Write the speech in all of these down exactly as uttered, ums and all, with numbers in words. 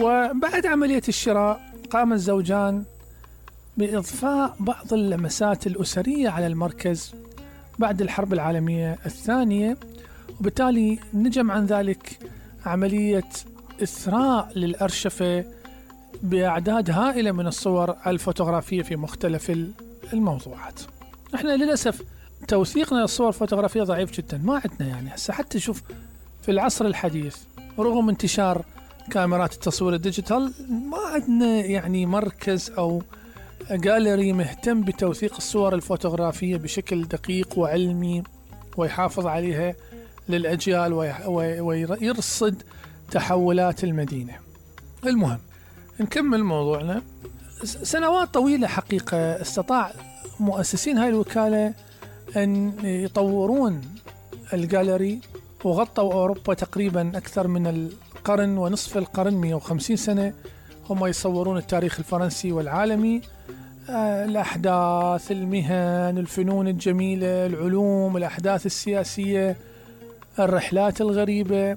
وبعد عملية الشراء قام الزوجان بإضفاء بعض اللمسات الأسرية على المركز بعد الحرب العالمية الثانية، وبالتالي نجم عن ذلك عملية إثراء للأرشفة بأعداد هائلة من الصور الفوتوغرافية في مختلف الموضوعات. احنا للأسف توثيقنا للصور الفوتوغرافية ضعيف جدا، ما عندنا يعني هسه حتى شوف في العصر الحديث رغم انتشار كاميرات التصوير الديجيتال ما عندنا يعني مركز أو جاليري مهتم بتوثيق الصور الفوتوغرافية بشكل دقيق وعلمي ويحافظ عليها للأجيال ويرصد تحولات المدينة. المهم نكمل موضوعنا. سنوات طويلة حقيقة استطاع مؤسسين هاي الوكالة أن يطورون الجاليري وغطوا أوروبا تقريبا أكثر من القرن ونصف القرن، مئة وخمسين سنة هم يصورون التاريخ الفرنسي والعالمي، الأحداث، المهن، الفنون الجميلة، العلوم، الأحداث السياسية، الرحلات الغريبة،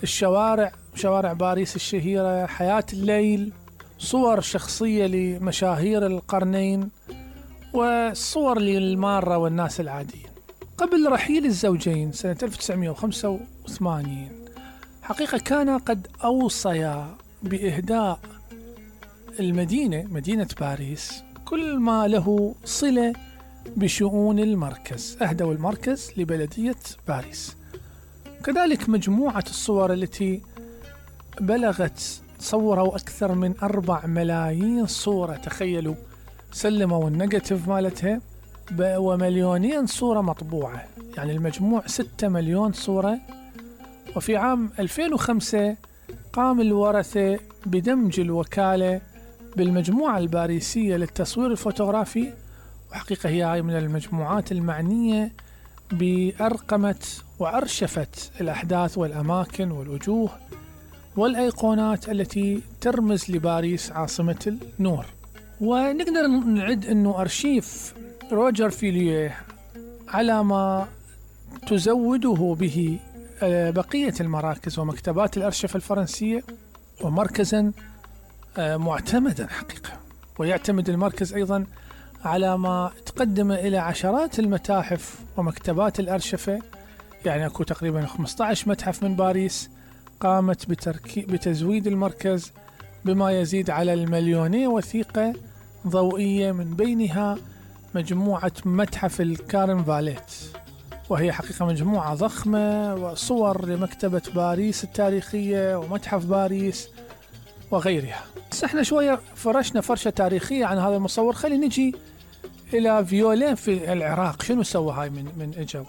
الشوارع، شوارع باريس الشهيرة، حياة الليل، صور شخصية لمشاهير القرنين، وصور للمارة والناس العاديين. قبل رحيل الزوجين سنة ألف وتسعمئة وخمسة وثمانين حقيقة كان قد أوصيا بإهداء المدينة مدينة باريس كل ما له صلة بشؤون المركز، أهدوا المركز لبلدية باريس. كذلك مجموعة الصور التي بلغت صوروا أكثر من أربع ملايين صورة، تخيلوا، سلموا النيجاتيف مالتها ومليونين صورة مطبوعة، يعني المجموع ستة مليون صورة. وفي عام ألفين وخمسة قام الورثة بدمج الوكالة بالمجموعة الباريسية للتصوير الفوتوغرافي، وحقيقة هي هاي من المجموعات المعنية بأرقمة وأرشفت الأحداث والأماكن والوجوه والأيقونات التي ترمز لباريس عاصمة النور. ونقدر نعد أنه أرشيف روجر فيليه على ما تزوده به بقية المراكز ومكتبات الأرشفة الفرنسية، ومركزا معتمدا حقيقة. ويعتمد المركز أيضا على ما تقدم إلى عشرات المتاحف ومكتبات الأرشفة، يعني أكو تقريبا خمسة عشر متحف من باريس قامت بتركي بتزويد المركز بما يزيد على المليونية وثيقة ضوئية، من بينها مجموعة متحف الكارنفاليت، وهي حقيقة مجموعة ضخمة، وصور لمكتبة باريس التاريخية ومتحف باريس وغيرها. بس احنا شوية فرشنا فرشة تاريخية عن هذا المصور، خلي نجي إلى فيولين في العراق. شنو سوى هاي من من إجوا؟